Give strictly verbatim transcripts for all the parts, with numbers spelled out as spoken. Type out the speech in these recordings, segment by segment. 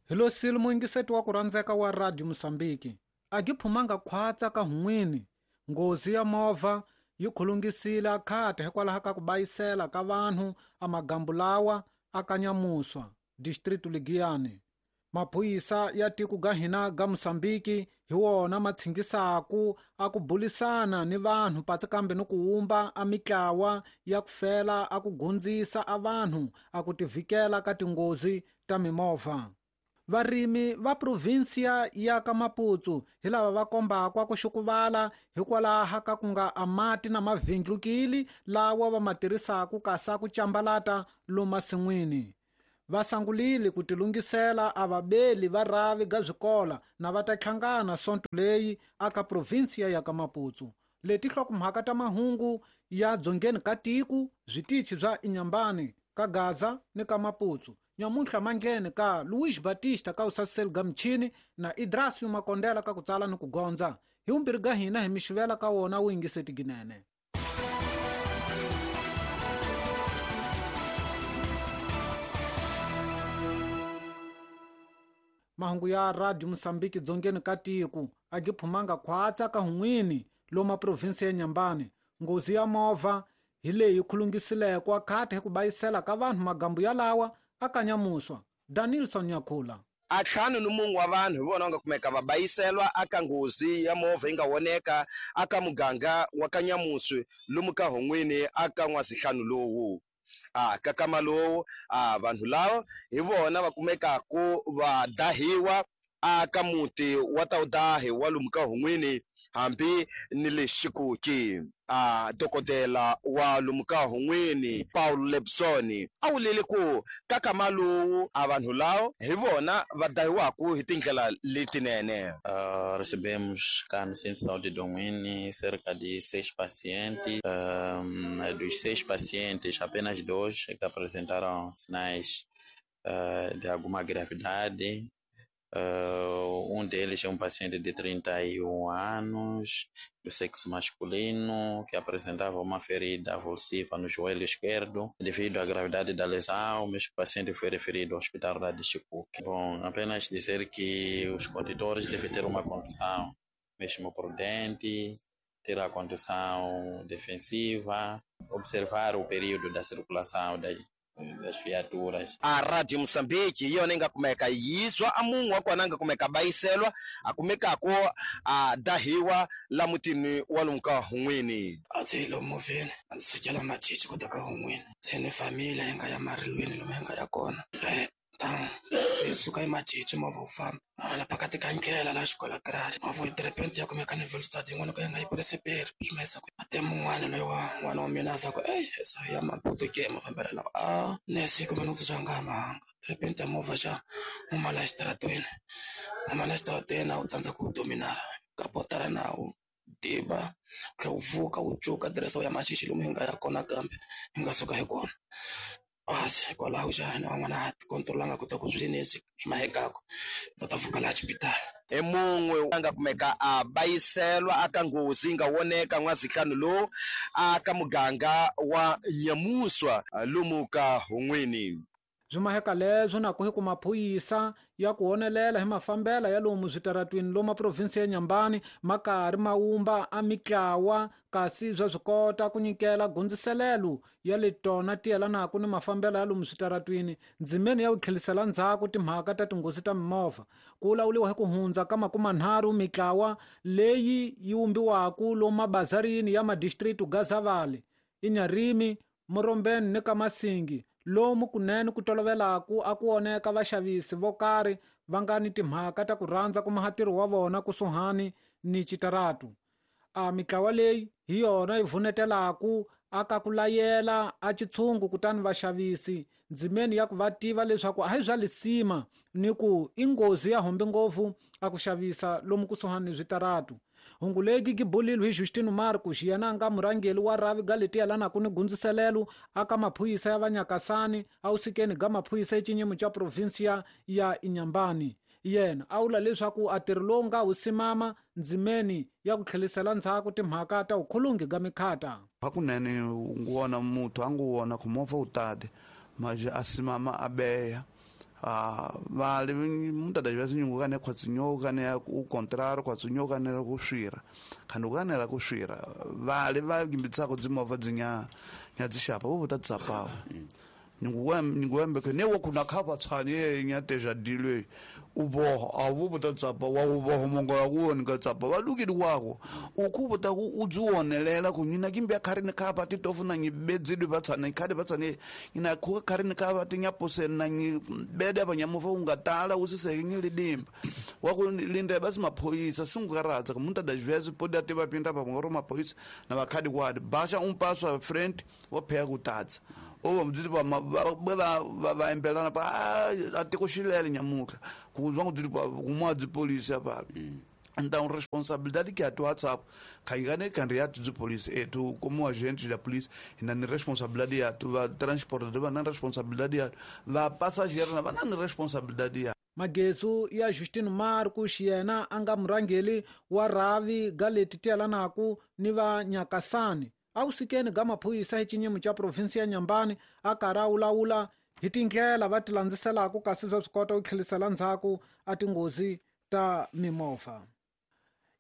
Hi lo sile muyingiseti wa ku rhandzeka wa Radio Mosambiki. A gi phumanga khwatsa ka hun'wini. Nghozi ya movha yi khulungisile akhata hikwalaho ka ku bayisela ka vanhu a magambu lawa a Kanyamuswa, district Ligiyani. Maphorisa ya tiko ga hina ga Mosambiki hi wona ma tshingisaku a ku bulisana ni vanhu patsi kambe ni ku wumba a mitlawa ya ku fela a ku gundzisa a vanhu a ku tivikela ka tinghozi ta mimovha. Varimi va provinsia ya ka Maputo hi lava va kombaka ku xukuvala hikwalaho ka ku nga amati na mavhindlukili lawa va ma tirhisaka kasa ku cambalata lomasin'wini. Va sangulile ku tilungisela a vabeli va ravi ga swikola na va ta hlangana sonto leyi aka provinsia ya ka Maputo. Leti hlokomhaka ta mahungu ya dzongeni ka tiko switichi swa Inhambane ka Gaza ni ka Maputo. Nyamuntlha manghene ka Luis Batista ka usasel ga mchini na Idrasio Makondela ka ku tsala ni ku gondza. Hi vumbirhi ga hina hi mixivela ka wona wu yingiseti ginene. Mahungu ya Radio Mosambiki dzongeni ka tiko a gi phumanga khwatsa ka hun'wini loma provinsi ya Inhambane. Nghozi ya movha hi leyi khulungisileko akhata hi ku bayisela ka vanhu magambu yalawa a Kanyamuswa. Danilson Nyakhula. A ntlhanu ni mun'we wa vanhu hi vona va nga kumeka va bayiselwa aka nghozi ya movha yi nga voneka aka muganga wa Kanyamuswa lomu ka hun'wini aka n'wazihlanu lowu. A ka kama lowu a vanhu lava hi vona va kumekaku va dahiwa aka muti wa Tawudahi wa lomu ka hun'wini hambi ni le Xikuki. A dokodela wa lomu ka hun'wini Paul Lebson a wulile ku ka kama lowu a vanhu lava hi vona va dahiwaku hi tindlela letinene. Uh, recebemos cá no Centro de Saúde de Donguini cerca de seis pacientes. Um, dos seis pacientes, apenas dois que apresentaram sinais uh, de alguma gravidade. Uh, um deles é um paciente de trinta e um anos, do sexo masculino, que apresentava uma ferida avulsiva no joelho esquerdo. Devido à gravidade da lesão, o mesmo paciente foi referido ao hospital lá de Chicuque. Bom, apenas dizer que os condutores devem ter uma condução mesmo prudente, ter a condução defensiva, observar o período da circulação das das viaturas. A Radio Mosambiki yona inga kumeka yizwa a munhu wa kona nga kumeka bayiselwa a kumekako a dahiwa la mutini wa lomu ka hun'wini. A ndzi yi lomu movheni a ndzi sukela machichi ku ta ka hun'wini se ni família yi nga ya marilweni lomu yi nga ya kona. Então hi suka hi machichi movha wu famba la phakati ka ndlela la xikola garage movha de repente ya kumeka ni velocity yin'wana ka yi nga yi purisi swi ma ku a te mun'wana loyi wa n'wana wa mina a za ku ey esa ya Maputo ke mafambelo lawa a ne siku mina ku nga mahanga de repente ya movha xa huma la xitaratweni huma la xitaratweni a wu tsandza ku dominara ka potara nawu diba tlhe wu vuka wu cuka diresa wu ya machichi lomu hi nga ya kona kambe hi nga suka hi kona. Asi hikwalaho xana van'wana a ti kontrolanga ku ta ku swi leswi swi mahekako va ta pfuka laha xipitali. I mun'we a nga kumeka a bayiselwa aka nghozi yi nga voneka n'wazihlanu lowu aka muganga wa Nyamuswa lomu ka hun'wini. Swi maheka leswo na ku hi ku maphorisa ya ku honelela hi mafambela ya lomu switaratwini lomu provinsi ya Inhambane ma karhi ma wumba a mitlawa kasi swa swi kota ku nyikela gundziselelo ya le tona ti yelanaka ni mafambelo ya lomu switaratwini ndzimeni ya ku tlhelisela ndzhaku timhaka ta tinghozi ta mimovha. Ku lawuriwa hi ku hundza ka makumanharhu mitlawa leyi yi wumbiwaka lomu mabazarini ya madistrict Gazavale, Inharime, Morombeni ni ka Masingi lomu kunene ku tolovelaku a ku oneka vaxavisi vo karhi va nga ni timhaka ta ku rhandza ku maha ntirho wa vona kusuhani ni xitaratu. A mitlawa leyi hi yona yi vunetelaku aka ku layela a xitshungu kutani vaxavisi ndzimeni ya ku va tiva leswaku a hi bya lisima ni ku i nghozi ya hombe ngopfu a ku xavisa lomu kusuhani ni switaratu. Hungu leyi gi bulilwe hi Justino Marcos yena a nga murhangeri wa ravi ga leti yelanaka ni gundziselelo aka maphorisa ya vanyakasani a wusikeni ga maphorisa exinyimo xa provinsia ya Inhambane. Yena a vula leswaku a ntirho lowu nga wu simama ndzimeni ya ku tlhelisela ndzhaku timhaka ta vukhulungi ga mikhata. Hakunene u wona muthu a ngu wona ku movha wu tati manje a simama a beya Ah, vale, muitas das vezes ninguém é o contrário, quase ninguém é o xira. Quando ninguém é o xira, vale, vai que com desenvolver dinha, nha dishapa, vou botar desapau. Ninguém, ninguém porque nem o que na capa tsani, nha teja dile, o borro, a vou botar desapau, o borro mongola o ninguém desapau, a lugi do água. O cubo tá o zuonelela com nina kimbe karine capa titofu na nibedzi batsani, kade batsani, ina ku karine capa tinha pose na bede abanyamuva ungatala usiseke lidimba. Wakulinda basi maphoyisa singukaradza muitas das vezes pode até vapinda pa ngoro maphoyisa na vakhadi kwadi basha um passo à frente vopheya kutadza ou vamos dizer va va embelana pa até cochilele nyamuka kuzwa kuti kumwa de polícia pa então responsabilidade que a tua WhatsApp caigane candidato de polícia e tu como agente da polícia na responsabilidade ya tu va transportador na responsabilidade ya va passageiro na na responsabilidade ya Magezu ya Justino Marcos yena anga murangeli wa ravi galeti telanaku ni va Nyakasani awusikeni ga maphorisa hi xinyimo xa provinsi ya Nyambani a karhi a wulawula hi tindlela va ti landziselaka kasi swa swi kota ku tlhelisela ndzhaku a tinghozi ta mimovha.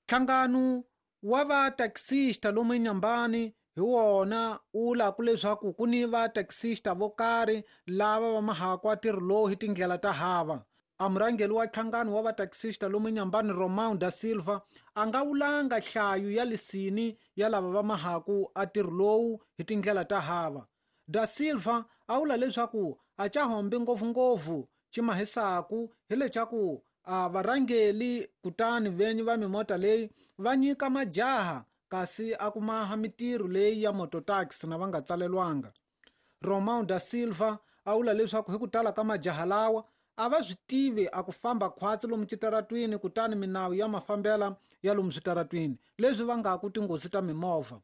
Nhlangano wa va taxista lomu eNyambani hi wona wu laku leswaku ku ni va taxista vo karhi lava va mahaka a ntirho lowu hi tindlela ta hava. A murhangeri wa nhlangano wa va taxista lomu eNyambani Romão da Silva a nga wulanga nhlayo ya lisini ya lava va mahaku a ntirho lowu hi tindlela ta hava. Da Silva a vula leswaku a ca hombi ngopfungopfu xi mahisaku hi leswaku a varhangeli kutani venyi va mimota leyi va nyika majaha kasi a ku maha mitirho leyi ya mototaxi na va nga tsalelwanga. Romão da Silva a vula leswaku hi ku tala ka majaha lawa a va swi tivi a ku famba khwatsi lomu switaratwini kutani minawu ya mafambela ya lomu switaratwini leswi vangaku tinghozi ta mimovha.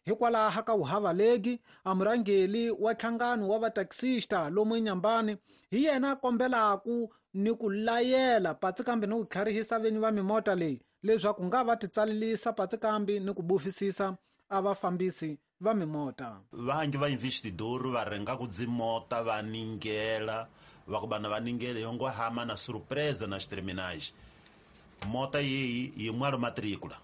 Hikwalaho ka wuhavalegi a murhangeri wa nhlangano wa vataxista lomu eNyambani hi yena a kombelaku ni ku layela patsi kambe ni ku tlharihisa venyi va mimota leyi leswaku nga va titsalelisa patsi kambe ni ku bufisisa a vafambisi va mimota. Vanji va investidor va renga ku dzimota va ningela va ku bana va ningele yongo hama na surpresa nas terminais. Mota yeyi yi mwalo matrícula.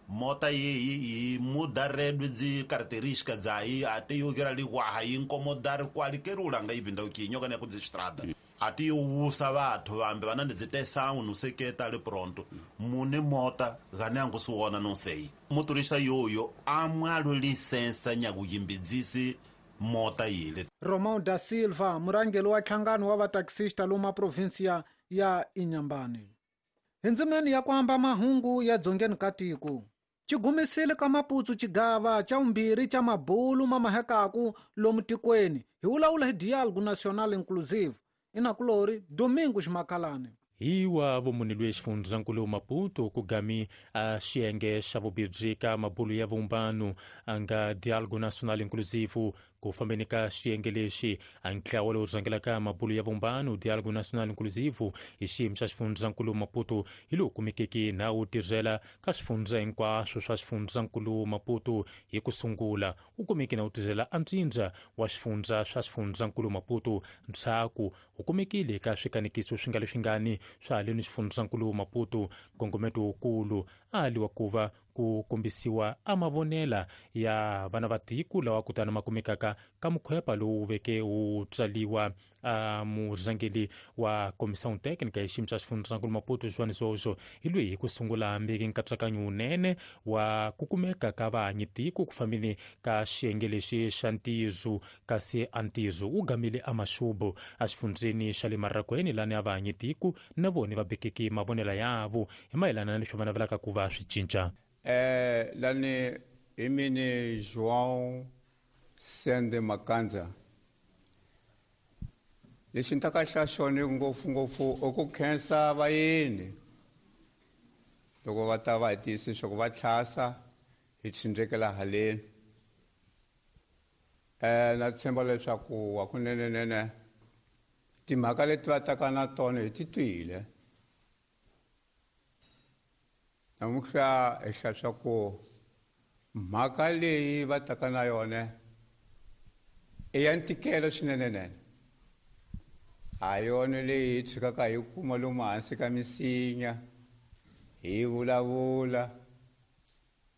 Mota yeyi yi muda redo de características aí até eu quero ali guarra e incomodar qualquer ulanga e vinda aqui nyoka ne ku estrada. Até eu usa batho vambe vana ndzi não sei que tá ali pronto. Mune mota ganyango suona não sei. Motorista yoyo amwalo licença nyakuyimbidzisi mota yile. Romão da Silva murhangeri wa nhlangano wa vataxista lomu provinsia ya Inhambane. Hi ndzimeni ya ku amba mahungu ya dzongeni ka tiko xigumisile ka Maputo xigava xa vumbirhi xa mabulu ma mahekaku lomu tikweni hi vulavula hi Diálogo Nacional Inclusive. Inakulori Domingos Makalane. Hi wa vumunhu lweyi xifundzankulu Maputo ku gami a xiyenge xa vubirhi ka mabulu ya vumbano a nga Diálogo Nacional Inclusive ku fambeni ka xiyenge lexi a ntlawa lowu rhangelaka mabulu ya vumbano Diálogo Nacional Inclusive hi xiyimo xa xifundzankulu Maputo hi lowu kumekeke na wu tirhela ka swifundza hinkwaswo swa xifundzankulu Maputo hi ku sungula wu kumeke na wu tirhela antsindza wa swifundza swa xifundzankulu Maputo ndzhaku wu kumekile ka swikanekiso swi nga leswingani swa haleni xifundzankulu Maputo nkongometo wukulu a liwa ku va ku kombisiwa a mavonela ya vana va tiko lawa kutani ma kumekaka ka mukhwepa lowu veke wu tsaliwa a murhangeri wa comissão técnica ya xiyimo xa xifundzankulu Maputo João Zozo hi loyi hi ku sungula hambeki nkatsakanyo wunene wa ku kumeka ka vahanyi tiko ku fambeni ka xiyenge lexi xa ntirho kasi a ntirho wu gamile a maxubu a xifundzeni xa le Marrakweni lani a vahanyi tiko na vona va bekeke mavonela yavo hi mayelana na leswi va navelaka ku va swi cinca. É, lani imini João Sende Makanza. Lexi ni ta ka xa xona ngopfungopfu i ku khensa vayeni loko va ta va hi tiyisa leswaku va tlhasa hi tshindrekela haleni. Um na tshemba leswaku hakunenenene timhaka leti va taka na tona hi ti twile. Namuntlha hi hlaya swa ku mhaka leyi va taka na yona i ya ntikelo swinenenene. A yona leyi hi tshikaka hi kuma lomu hansi ka misinya hi vulavula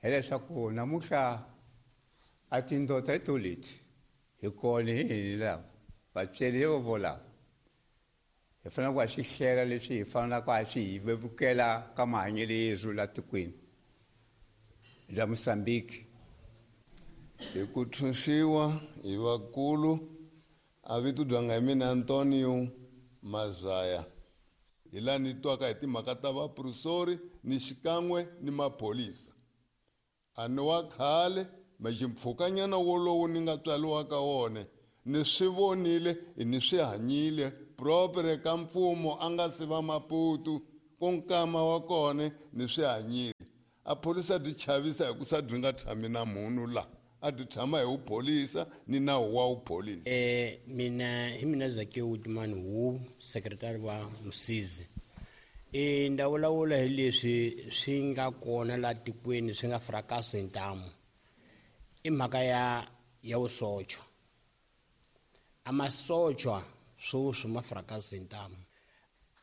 hileswaku namuntlha a tindota hi to leti hi kona hi hini lava vatsweri vo volava hi fanele ku swi hlela leswi hi fanelaka a swi hi vevukela ka mahanyelo yezu la tikweni la Mozambique. Hi ku tshunxiwa hi vakulu a vito dyanga hi mina Antonio Mazaya hi laha ni twaka hi timhaka ta vaprofesori ni xikan'we ni maphorisa a ni wa khale maximpfhukanyana wolowo ni nga tswariwa ka wona ni swi vonile ni swi hanyile propre ka mfumo a nga si va Maputo ku nkama wa kona ni swi hanyile a phorisa byi chavisa hi ku sa byi nga tshami na munhu la a byi tshama hi wupholisa ni nawu wa wupholisa. Eh mina hi mina Zakiwe Utumani wu sekretari wa Msizi. E nda vulavula hi leswi swi nga kona la tikweni swi nga frakaso hi ntamu i mhaka ya ya vusocho. A masochwa swoswi ma frakaso hi ntamu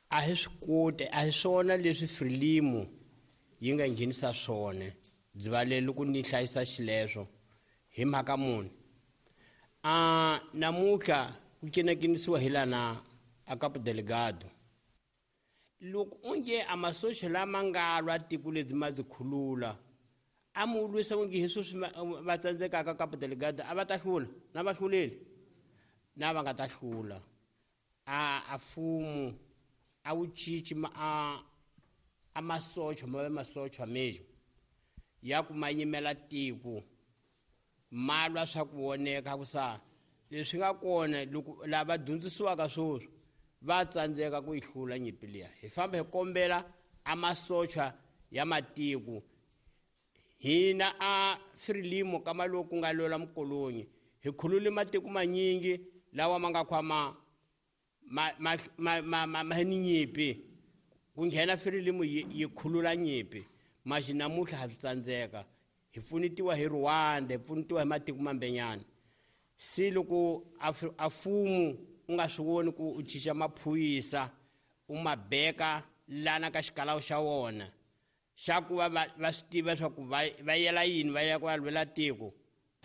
a hi swi koti a hi swona leswi Frelimo yi nga nghenisa swona byi loko ni hlayisa xileswo hi mhaka muni a namuntlha ku cinakinisiwa hi lana a Cabo Delgado loko onge a masocha lama nga lwa tiko lebyi ma byi khulula a mu lwisa onge hi sweswi va tsandzekaka Cabo Delgado a va ta hlula na va hluleli na va nga ta hlula a a fumu a wu cinci a a masocha ma ve masocha mesmo ya ku ma yimela tiko ma lwa swa ku voneka ku sa leswi nga kona loko lava dyondzisiwaka swoswi va tsandzeka ku yi hlula nyimpi liya hi famba hi kombela a masocha ya matiko hina a Frelimo ka maloku nga lwela mukolonyi hi khulule matiko manyingi lawa ma nga khwama ma ma ma ma ma, ma ni nyimpi ku nghena Frelimo yi khulula nyimpi maxi namuntlha ha swi tsandzeka hi pfunetiwa hi Rwanda hi pfunetiwa hi matiko mambenyana se loko a fumu u nga swi voni ku u cinca maphorisa u ma beka lana ka xikalawu xa wona xa ku va va swi tiva swa ku va yela yini va ya ku ya lwela tiko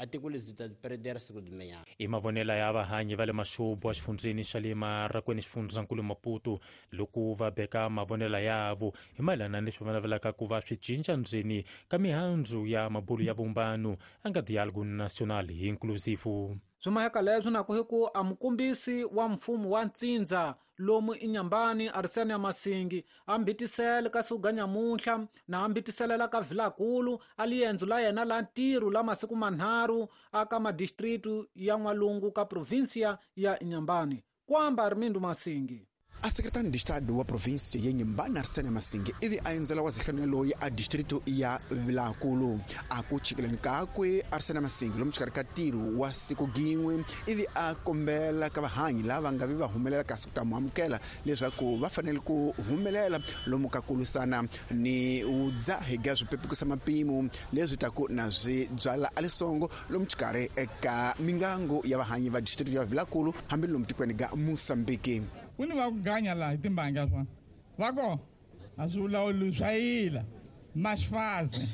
a tiko lebyi ta peredera siku limenyana. I mavonelo ya vahanyi va le Maxubu exifundzheni xa le Marakweni xifundzankulu Maputo loko va beka mavonelo yavo hi mayelana ni leswi va navelaka ku va swi cinca ndzeni ka mihandzu ya mabulu ya vumbano a nga Dialogue National Inclusive. Swimaheka leswi na ku hi ku a mukombisi wa mfumo wa ntsindza lomu inyambani Arsene Masingi a mbitisele ka suga nyamuntlha na ambitiselela ka Vilakulu a liendzo la yena la ntirho la masiku manharhu aka madistritu ya N'walungu ka provinsia ya Inhambane. Kwamba Armindo Masingi. A secretário de Estado wa província ya Inhambane Arsene Masingi ivi a endzela wa zihlanu loyi a distrito ya Vilakulu a ku chikeleni kakwe Arsene Masingi lomu xikarhi ka ntirho wa siku gin'we ivi a kombela ka vahanyi lava nga vi va humelela kasi ku ta mu amukela leswaku va fanele ku humelela lomu ka ku lwisana ni vudzahi ga swipepukisa mapimo leswi taku na swi byala a lisongo lomu xikarhi eka mingango ya vahanyi va distrito ya Vilakulu hambi lomu tikweni ga Mozambique. Ku ni va ku ganya laha hi timbanga swa va ko a swi vulawuli swa yila mas fazem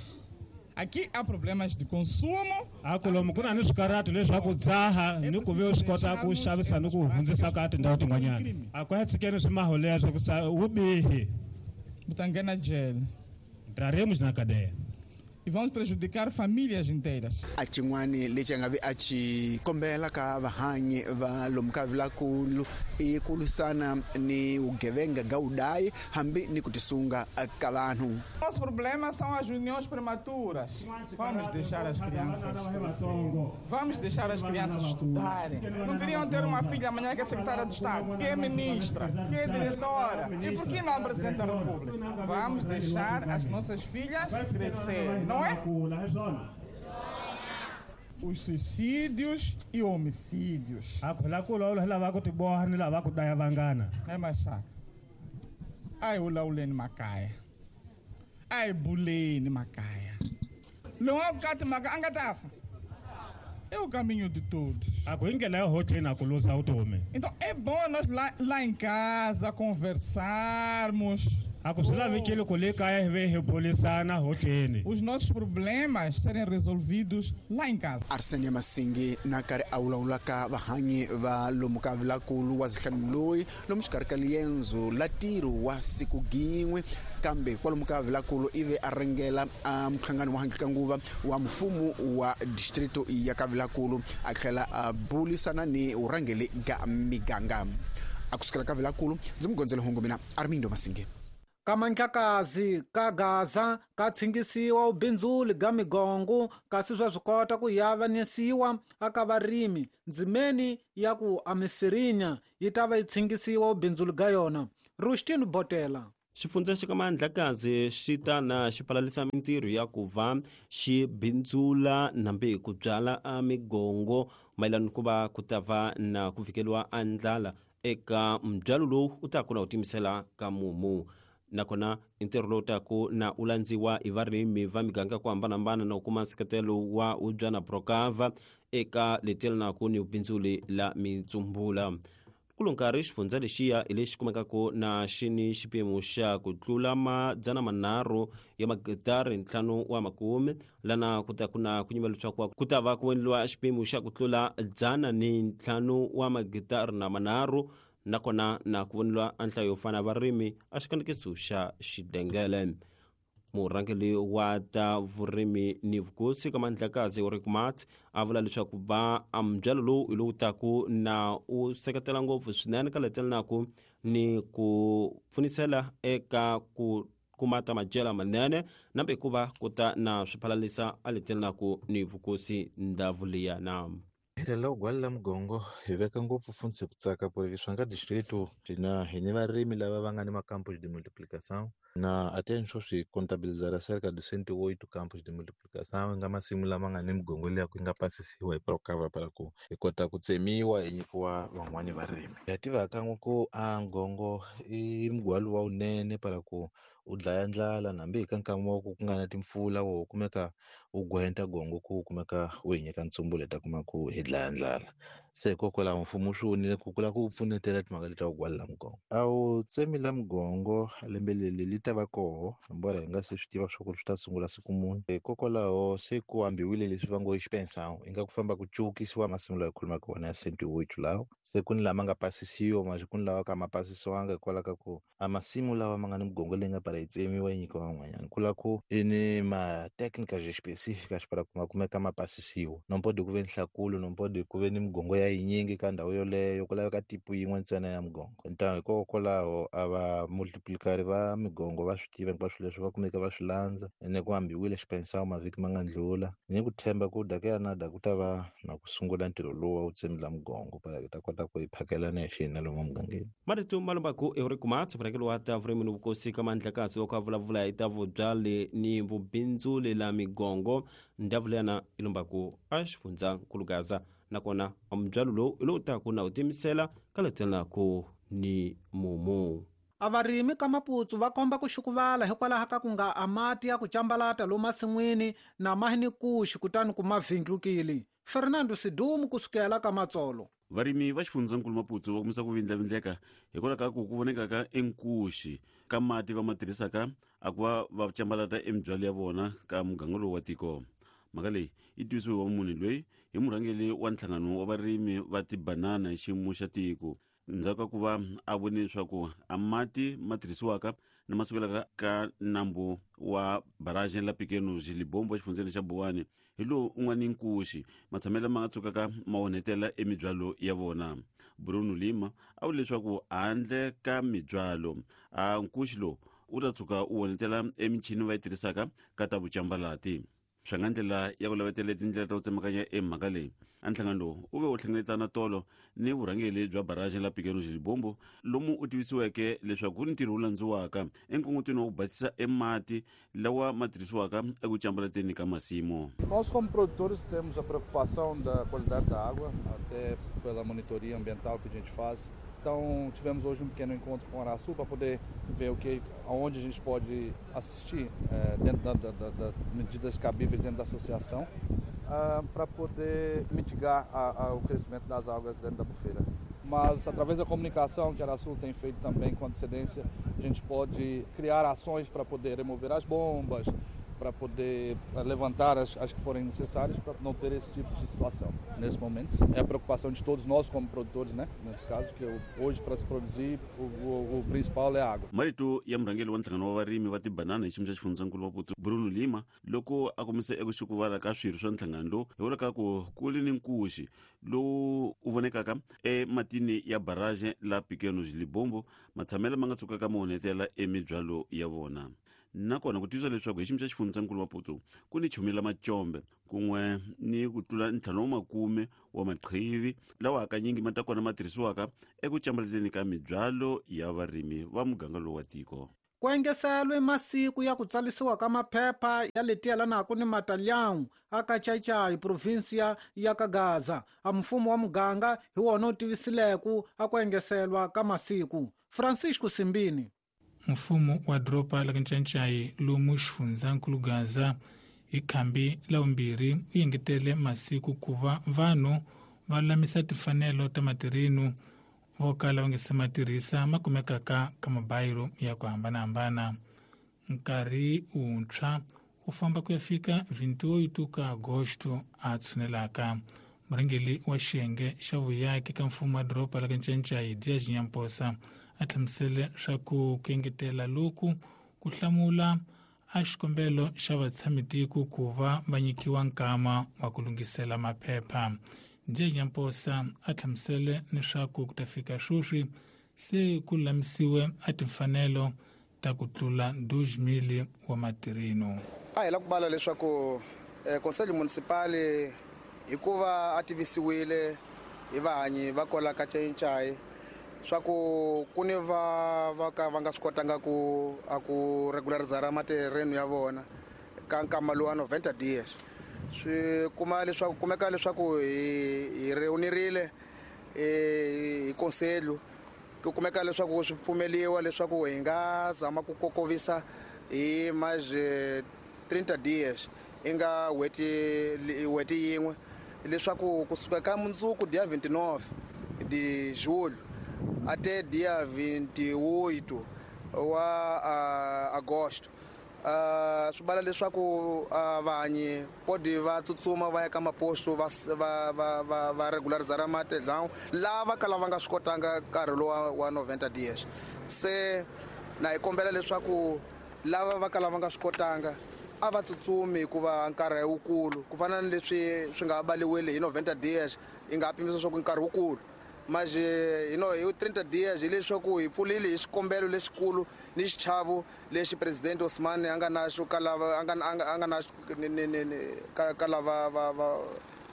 aqui há problemas de consumo a ku lomu ku na ni swikarhati leswaku dzaha ni ku ve swi kota ku xavisa ni ku hundzisa ka tindhawu tin'wanyana a ku ya tshikeni swimaho leswo ku sa vubihi u ta nghena jele entraremos na cadeia e vamos prejudicar famílias inteiras. A xin'wani lexi a nga vi a xi kombela ka vahanyi va lomu ka Vilakulu i ku lwisana ni vugevenga ga vudayi hambi ni ku tisunga ka vanhu. Nosso problema são as uniões prematuras. Vamos deixar as crianças crescer. Vamos deixar as crianças estudarem. Não queriam ter uma filha amanhã que é secretária de Estado, que é ministra, que é diretora. E por que não presidente da República? Vamos deixar as nossas filhas crescer. Não é? Os suicídios e homicídios. É machaca. Ai, ulauleni makaya. Ai, buleni makaya. Lowu kati maka angatafa. É o caminho de todos. A ku hi ndlela ya hotleni a ku luza vutomi. Então é bom nós lá, lá em casa conversarmos. A ku swi lavekile ku le kaya hi ve hi bulisana hotleni. Os nossos problemas serem resolvidos lá em casa. Arsenia Masingi na karhi a vulavulaka vahanyi va lomu ka Vilakulu wa zihlanu loyi lomu xikarhi ka liendzo la ntirho wa siku gin'we kambe kwalomu ka Vilakulu ivi a ringela a muhlangano wa handle ka nguva wa mfumo wa distrito ya ka Vilakulu a tlhela a bulisana ni vurhangeri ga miganga. A kusukela ka Vilakulu ndzi mugondzela hungu mina Armindo Masingi. Ka Mandlakazi ka Gaza ka tshingisiwa ubindzuli ga migongo kasi swa swi kota ku yavanisiwa aka varimi ndzimeni ya ku amifirinya yi ta va yi tshingisiwa ubindzuli ga yona. Rustin Botela. Xifundza xa ka Mandlakazi xi ta na xi palalisa mintirho ya ku va xi bindzula nambe ku byala a migongo mayelana ku va ku ta va na ku fikeliwa a ndlala eka mbyalo lowu u ta ku na u timisela ka mumu. Nakona ntirho lowu taku na u landziwa hi varimi va miganga ku hambanahambana na u kuma nseketelo wa ubyana Procava eka letelanaku ni bindzuli la mitsumbula. Kulo nkarhi xifundza lexiya hi lexi kumekaka na xi ni xipimo xa ku tlula madzana manharhu ya magitari ntlhanu wa makume lana ku ta ku na ku nyima leswaku ku ta va ku endliwa xipimo xa ku tlula dzana ni ntlhanu wa magitari na manharhu nakona na ku voniwa a nhlayo yo fana varimi a xikanekiso xa xidengele. Murhangeri wa ta vurimi ni vukosi ka Mandlakazi Ulrich Matt a vula leswaku va ambyalo lowu hi lowu taku na u seketela ngopfu swinene ka letelanaku ni ku pfunisela eka ku kuma ta madyela manene nambe ku va ku ta na swiphalalisa a letelanaku ni vukosi ndhavu liya na. Hi gwala mugongo hi veka ngopfu fundzi ku tsaka porque swa nga distrito na hi ni varimi lava va nga ni macampos de multiplicação na até swi contabilizar cerca de cento e oito campos de multiplicação nga masimu lama nga ni migongo liya ku nga pasisiwa hi Procava para ku hi kota ku tsemiwa hi nyikiwa van'wani varimi. Ha tiva kan'we ku a ngongo i mugwalo wa wunene para ku u dlaya ndlala nambi hi ka nkama wa ku ku nga na timpfula wo kumeka u gwenta gongo ku kumeka u hi nyika ntsumbu leta kuma ku hi dlaya ndlala. Se hikokwalaho mfumo swi vonile ku kula ku pfunetela timhaka leti ta ku gwala mugongo. A wu tsemi la mugongo lembe leri li ta va koho embora hi nga se swi tiva swa ku swi ta sungula siku muni. Hikokwalaho se ku ambiwile leswi va ngo i xipensão i nga ku famba ku cukisiwa masimu lawa hi khulumaka wona ya cento e oito lawa se ku ni lama nga pasisiwa manje ku ni lawa ka ma pasisiwanga hikwalaho ka ku a masimu lawa ma nga ni mugongo leyi nga para yi tsemiwa yi nyikiwa van'wanyana ku la ku i ni ma-técnicas específicas para ku ma kumeka ma pasisiwa no pode ku ve ni nhlakulo no pode ku ve ni mugongo ya yinyingi ka ndhawu yoleyo ku laveka tipu yin'we ntsena ya mugongo. Então hikokwalaho a va multiplicari va migongo va swi tiva hinkwaswo leswi va kumeka va swi landza ene ku ambiwile xipensao mavhiki ma nga ndlula ni ku tshemba ku daka ya nada ku ta va na ku sungula ntirho lowu wa wu tsemila mugongo para hi ta kota ku hi phakelana hi xina lomu mugangeni. Marito malombaku Ulrich Matt murhangeri wa ta vurimi ni vukosi ka Mandlakazi loko a vulavula hi ta vubyali ni vubindzuli la migongo ndhavu leyana i lombaku a xifundza nkulugaza nakona mubyalo lowu hi lowu taku na u timisela ka letelanaku ni mumu. A varimi ka Maputsu va komba ku xukuvala hikwalaho ka ku nga a mati ya ku cambalata lomu masin'wini na mahi ni kuxi kutani ku ma vindlukile. Fernando Sidumu kusukela ka Matsolo. Varimi va xifundzankulu Maputsu va kumisa ku vindlavindleka hikwalaho ka ku ku vonekaka enkuxi ka mati va ma tirhisaka a ku va va cambalata emibyalo ya vona ka muganga lowu wa tiko. Mhaka leyi yi tivisiwe wa munhu loyi hi murhangeri wa nhlangano wa varimi va tibanana hi xiyimo xa tiko ndzhaku ka ku va a vone leswaku a mati ma tirhisiwaka na ma sukelaka ka nambu wa barrage la Pequenos Libombo exifundzeni xa Buwani hi lowu u nga ni nkuxi matshamelo lama nga tsukaka ma onhetela emibyalo ya vona. Bruno Lima a vule leswaku handle ka mibyalo a nkuxi lowu u ta tshuka u onhetela emichini va yi tirhisaka ka ta vucambalati. Swa nga ndlela ya ku lavetela tindlela ta ku tsemakanya emhaka leyi a nhlangano lowu u ve u hlengeletana tolo ni vurhangeri bya barrage la Pequenos Libombo lomu u tivisiweke leswaku ku ni ntirho wu landziwaka enkongotweni wa ku basisa emati lawa ma tirhisiwaka eku cambalateni ka masimu. Nós como produtores temos a preocupação da qualidade da água, até pela monitoria ambiental que a gente faz. Então tivemos hoje um pequeno encontro com o Araçu para poder ver o que, aonde a gente pode assistir é, dentro da, da, da, da medidas cabíveis dentro da associação. uh, para poder mitigar a, a, o crescimento das algas dentro da bufeira. Mas através da comunicação que a Arasul tem feito também com antecedência, a gente pode criar ações para poder remover as bombas, para poder levantar as, as que forem necessárias para não ter esse tipo de situação. Nesse momento, é a preocupação de todos nós como produtores, né? Nesse caso, que hoje para se produzir, o, o, o principal é a água. Marito ya murhangeri wa nhlangano wa varimi va tibanana hi xiyimo xa xifundzankulu wa Maputo Bruno Lima loko a kombise eku xukuvala ka swirho swa nhlangano lowu hi vula ka ku ku li ni nkuxi lowu u vonekaka ematini ya barrage la Pequenos Libombo matshamelo ma nga tsukaka ma onhetela emibyalo ya vona. Nakona ku tiyisa leswaku hi xiyimo xa xifundzankulu Maputo ku ni chumela macombe kun'we ni ku tlula ntlhanu wa makume wa maqhivi lawa hakanyingi ma ta kona ma tirhisiwaka eku cambaleteni ka mibyalo ya varimi va muganga lowu wa tiko. Ku engeselwe masiku ya ku tsalisiwa ka maphepha ya leti yelanaka ni matalyawu aka Chaichai provinsia ya Kagaza. A mfumo wa muganga hi wona wu tivisileku a ku engeselwa ka masiku. Francisco Simbini. Mfumo wa doroba la Ncancai lomu xifundzankulu Gaza hi khambi la vumbirhi u engetele masiku ku va vanhu va lulamisa timfanelo ta matirhenu vo kala va nga se ma tirhisa ma kumekaka ka mabayiro ya ku hambanahambana. Nkarhi wuntshwa wu famba ku ya fika vintiweitu ka Agosto a tshunelaka. Murhangeri wa xiyenge xa vuyaki ka mfumo wa doroba la Ncancai Dias Nyamposa a hlamusele swa ku ku engetela loku ku hlamula a xikombelo xa vatshamitiko ku va va nyikiwa nkama wa ku lunghisela maphepha. Dias Nyamposa a hlamusele leswaku ku ta fika sweswi se ku lulamisiwe a timfanelo ta ku tlula dois mil wa matirheno. A hi la ku bala leswaku Conselho Municipal hikuva a tivisiwile hi vahanyi va kwala ka Chaichai swa ku ku ni va va ka va nga swi kotanga ku a ku regularizara materreno ya vona ka nkama lowu wa noventa dias. Swi kuma leswaku kumeka leswaku hi hi reunirile hi conselho ku kumeka leswaku swi pfumeliwa leswaku hi nga zama ku kokovisa hi mais trinta dias i nga n'hweti n'hweti yin'we leswaku kusuka ka mundzuku dia vinte e nove de julho até dia vinte e oito wa uh, agosto. Uh, swi bala leswaku uh, vahanyi podi va tsutsuma va ya ka maposto va va va va, va regularizara matedlawu lava kala va nga swi kotanga nkarhi lowu wa noventa dias. Se na hi kombela leswaku lava va kala va nga swi kotanga a va tsutsumi hikuva nkarhi wukulu ku fana ni leswi swi nga baliwile hi noventa dias i nga pimisa swa ku nkarhi wukulu. Mas hi no hi trinta dias hileswaku hi pfulile hi xikombelo lexikulu ni xichavo lexi presidente Osman a nga na xo ka lava a nga a nga na ka ka lava va va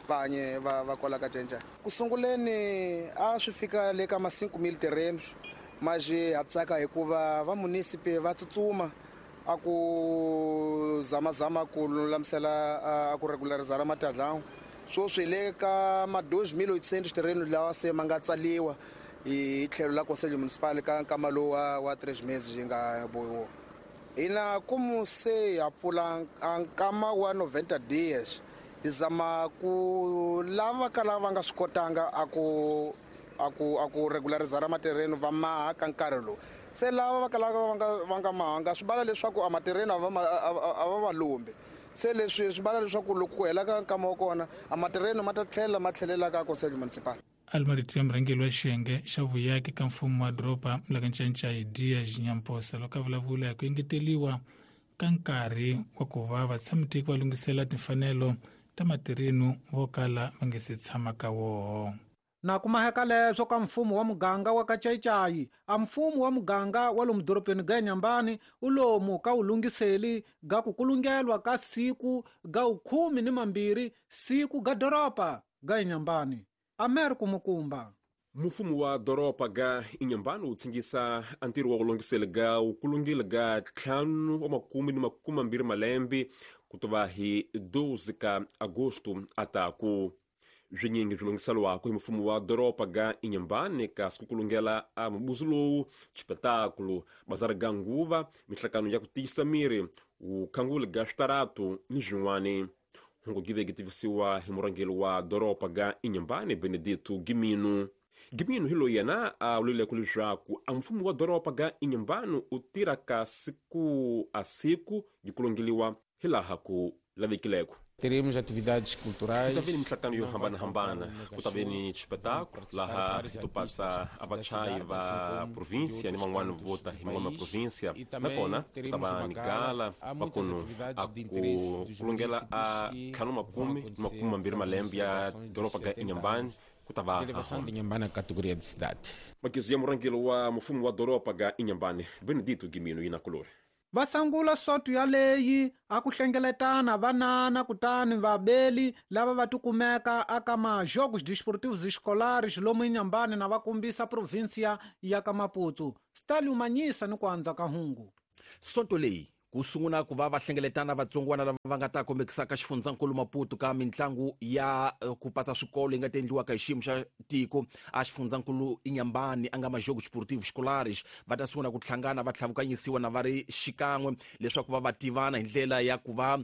vahanye va va kwala ka Ncancai. Ku sunguleni a swi fika le ka ma cinco mil terrenos, mas ha tsaka hikuva va munisipe va tsutsuma a ku zamazama ku lulamisela a ku regularizara matadlawu. Sweswi le ka ma dois mil oitocentos terrenos lawa se ma nga tsaliwa hi tlhelo la Conselho Municipal ka nkama lowu wa, wa três meses yi nga bohiwa. Hina como se ha pfula nkama wa noventa dias hi zama ku lava ka lava nga swi kotanga a ku a ku a ku regularizara materreno va maha ka nkarhi lowu. Se lava va kalaka va nga va nga mahanga swi bala leswaku a materreno a va a va va lombi. Se leswi swi bala leswaku loko ku hela ka nkama wa kona a materreno ma ta tlhela ma tlhelela ka Conselho Municipal. Almarito ya murhangeri wa xiyenge xa vuyaki ka mfumo wa doroba la Ncancai Dias Nyamposa loko a vulavula hi ku engeteriwa ka nkarhi wa ku va vatshamitiko va lunghisela timfanelo ta matirheno vo kala va nga se tshama ka woho. Na kumaheka leswo ka mfumo wa muganga wa ka Chaichai, a mfumo wa muganga wa lomu dorobeni ga Inhambane u lomu ka wu lunghiseli ga ku kulungelwa ka siku ga ukhumi ni mambirhi siku ga doroba ga Inhambane. Americo Mukumba. Mfumo wa doroba ga Inhambane wu tsingisa a ntirho wa ku lunghisela ga wu kulungile ga ntlhanu wa makume ni makume mambirhi malembe ku tova hi doze ka Agosto ataku. Swinyingi swi lunghiseriwaka hi mfumo wa doroba ga Inhambane kasi ku kulungela a mubuzu lowu xipetakulo bazari ga nguva mihlakano ya ku tiyisa miri vukhanguli ga switaratu ni swin'wani. Hungu give gitivisiwa hi murhangeri wa doroba ga Inhambane Benedito Gimino. Gimino hi loyi yena a vulileko leswaku a mfumo wa doroba ga Inhambane u tirha ka siku a siku yi kulongeliwa hilaha ku lavekileko. Teremos atividades culturais. Ku ta ve ni minhlangano yo hambanahambana, ku ta ve ni xipetaku laha hi to patsa a vachayi va província ni van'wana vo ta hi man'wana ma província, nakona ku ta va ni gala va kunu a ku kulongela a ntlhanu makume ni makume mambirhi malembe ya doroba ga Inhambane ku ta va Inhambane categoria de cidade. Makizu ya murhangeri wa mfumo wa doroba ga Inhambane Benedito Gimino yina kulori. Va sangula soto yaleyi a ku hlengeletana vanana kutani vabeli lava va tikumeka aka majogos desportivos escolares lomu Inhambane na va kombisa província ya ka Maputo. Stalin Manyisa ni ku andza ka hungu. Sonto leyi ku sungula ku va va hlengeletana vatsongwana lava va nga ta kombekisaka xifundzankulu Maputo ka mintlangu ya ku patsa swikolo yi nga ta endliwaka hi xiyimo xa tiko a xifundzankulu Inhambane a nga majogos desportivos escolares va ta sungula ku hlangana va tlhavukanyisiwa na va ri xikan'we leswaku va va tivana hi ndlela ya ku va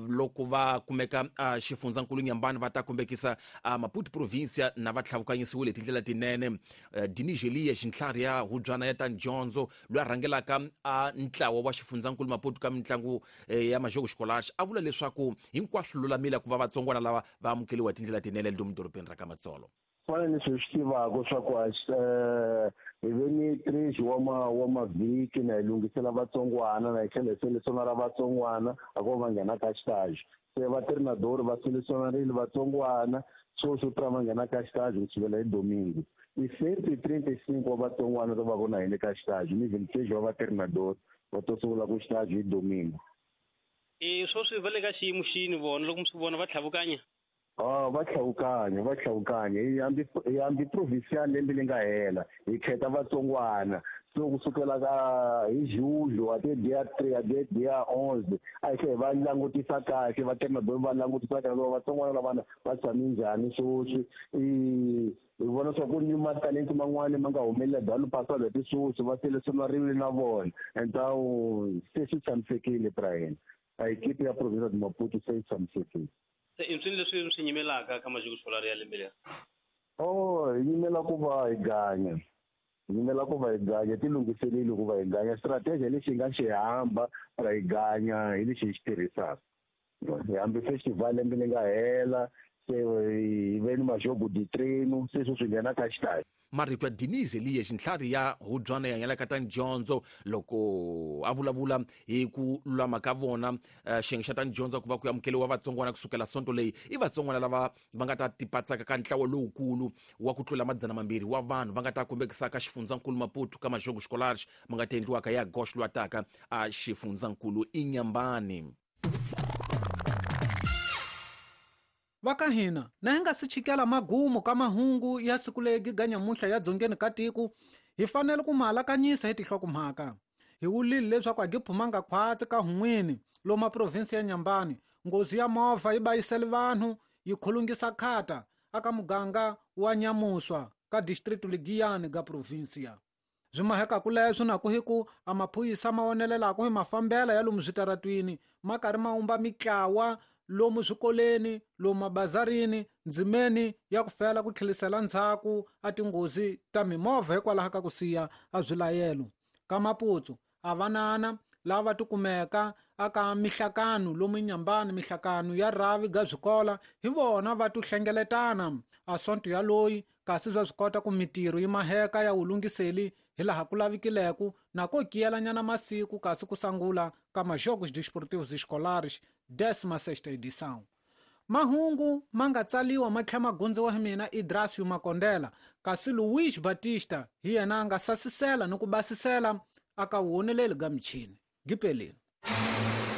loko va kumeka a xifundzankulu Inhambane va ta kombekisa a Maputo província na va tlhavukanyisiwile hi tindlela tinene. Dinigelia xintlhari ya hubyana ya ta dyondzo loyi a rhangelaka a ntlawa wa xifundzankulu Maputo ka mintlangu ya majogos escolares a vula leswaku hinkwaswo lulamile ku va vatsongwana lava va amukeliwa hi tindlela tinene lomu dorobeni ra ka Matsolo. Fana ni swi tivaka swa ku hi ve ni três wa ma wa mavhiki na hi lunghisela vatsongwana na hi tlhela hi selecionara vatsongwana a ku va nghena ka xitaji se va treinador va selecionarile vatsongwana sweswo tra va nghena ka xitaji ku sukela hi domingo i cento e trinta e cinco wa vatsongwana to va vona hi le ka xitaji ni vinte e seis wa va treinador va to sungula ku xitaji hi domingo. E sweswi va le ka xiyimo xini vona loko mi swi vona va tlhavukanya? Ah, va tlhavukanya va tlhavukanya hi hambi hi hambi provincial lembe leri nga hela hi khetha vatsongwana so kusukela ka hi julho ate dia tres ate dia onze a hi tlhela hi va langutisa kahle va treinador va langutisa kahle loko vatsongwana lavana va tshame njhani sweswi i hi vona swa ku ni matalenti man'wani ma nga humelela dalo pasado ti sweswi va selecionariwile na vona então se swi tshamisekile Brian a equipe ya província de Maputo se yi tshamisekile. Se i swilo leswi swi nyimelaka ka majogos escolares ya lembe leri? Oh, hi nyimela ku va hi ganya hi nyimela ku va hi ganya ti lunghiseleli ku va hi ganya strategy lexi hi nga xi hamba ra hi ganya hi lexi hi xi tirhisaka hi hambi festival lembe leri nga hela se hi ve ni majogo de treino se sweswi nghena ka xitaji. Marito ya Denise Eliya xintlhari ya hubyana ya yelaka ta dyondzo loko a vulavula hi ku lulama ka vona xiyenge xa ta dyondzo ku va ku amukeliwa vatsongwana kusukela sonto leyi i vatsongwana lava va nga ta tipatsaka ka ntlawa lowukulu wa ku tlula madzana mambirhi wa vanhu va nga ta kombekisaka xifundzankulu Maputo ka majogos escolares ma nga ta endliwaka ya gosh lwataka a xifundzankulu Inhambane. Va ka hina na hi nga si chikela magumu ka mahungu ya siku legi ga nyamuntlha ya dzongeni ka tiko hi fanele ku ma alakanyisa hi tinhlokomhaka. Hi wulile leswaku a gi phumanga khwatsi ka hun'wini lomu provinsi ya Inhambane nghozi ya movha yi bayisele vanhu yi khulungisa khata aka muganga wa Nyamuswa ka distritu Ligiyani ga provinsia. Swi mahekaku leswo na ku hi ku a maphorisa ma onelelaka hi mafambela ya lomu switaratwini ma karhi ma umba mitlawa lomu swikoleni lomu mabazarini ndzimeni ya ku fela ku tlhelisela ndzhaku a tinghozi ta mimovha hikwalaho ka ku siya a swilayelo. Ka Maputo a vanana lava tikumeka aka mihlakano lomu Inhambane mihlakano ya rhavi ga swikola hi vona va tihlengeletana a sonto ya loyi kasi swa swi kota ku mitirho yi maheka ya wulunghiseli hilaha ku lavikileko na ko kiyelanyana masiku kasi ku sangula ka majogos desportivos escolares décima sexta edição. Mahungu ma nga tsaliwa ma tlhela ma gondziwa hi mina Idrasio Makondela kasi Luís Batista hi yena a nga sasisela ni ku basisela aka woneleli ga michini. Gipeleni.